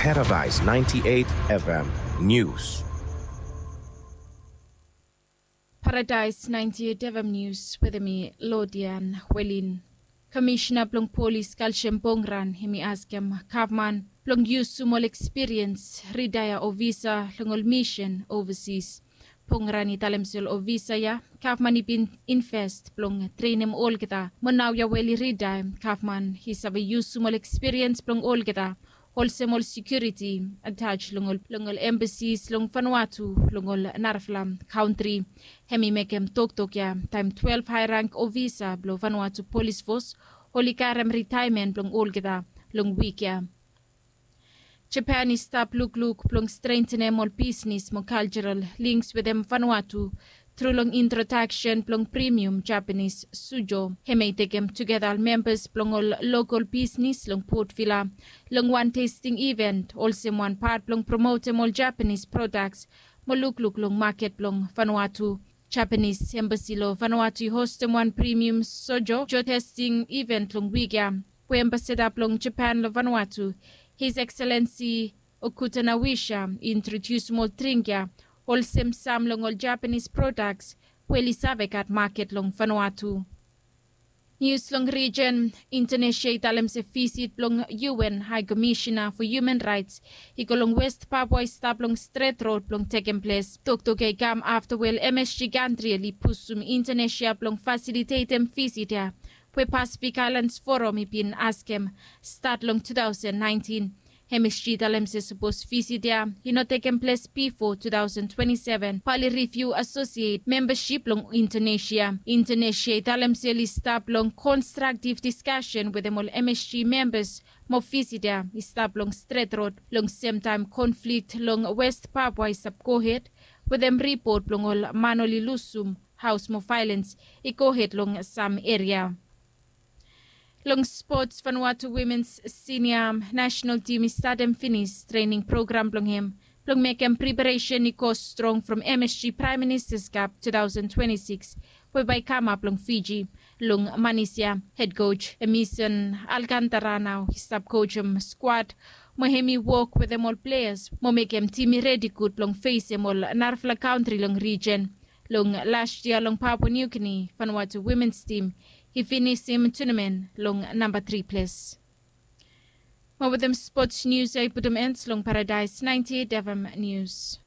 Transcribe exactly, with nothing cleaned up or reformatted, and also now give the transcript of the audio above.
Paradise ninety-eight F M News. Paradise ninety-eight F M News wetem mi, Lodian Welin. Komisina blong polis Kalshem Pongran hemi askem gavman blong yusum ol ekspiriens ritaea ofisa long ol misen ovasis. Pongran i talem se ol ofisa ya gavman i bin invest blong trenem olgeta, mo naoia we oli ritaea gavman i save yusum ol ekspiriens blong olgeta olsem ol sekiuriti atas long ol embasis long Vanuatu long ol narafala kantri. Hemi mekem toktok ya taem twelve haerang ofisa blong Vanuatu polis fos oli karem ritaemen blong olgeta long wik ya. Japan i stap lukluk blong strentenem ol bisnes mo kaljaral lings wetem Vanuatu tru long introdaksen blong premium Japanis sujo. Hemia i tekem tugeta ol membas blong ol lokol bisnes long Port Vila long wan testing iven olsem wan pat blong promotem ol Japanis prodaks mo lukluk long maket blong Vanuatu. Japanis embasi long Vanuatu i hostem wan premium sujo testing iven long wik ya, we ambasada blong Japan long Vanuatu, His Excellency Okuta Nawisha, i introdiusum ol dring ya olsem sam long ol Japanis prodaks we oli save gat maket long Vanuatu. Nius long rijen. Indonesia i talem se visit blong U N Hae Komisina fo Human Raets i go long West Papua i stap long stret rod blong tekem ples. Toktok ya i kam afta we ol M S G kantri oli pusum Indonesia blong fasilitetem visit ya we Pacific Islands Forum i bin askem stat long two thousand nineteen. M S G i talem se sapos visit ya i no tekem ples bifo two thousand twenty-seven, bae oli riviu asosiet membasip blong Indonesia. Indonesia i talem se oli stap long konstraktiv diskasen wetem ol M S G membas mo visit ya i stap long stret rod long semtaem konflik long West Papua i stap gohed wetem ripot blong ol man oli lusum haos mo vaelens i gohed long sam eria. Long spots, Vanuatu wimens sinia nasenal tim i statem finis trening program blong hem blong mekem preparesen i go strong from M S G Praem Ministas Kap two thousand twenty-six we bae i kamap long Fiji. Long Manis ya, hed koj Emison Alkantara nao i stap kojem skwad mo hem i wok wetem ol pleas mo mekem tim i redi gud blong fesem ol narafala kantri long rijen. Long las yia long Papua New Guinea, Vanuatu wimens tim i finisim tunamen long namba tri ples. Mo wetem spots nius ya i putum en long Paradise ninety-eight F M Nius.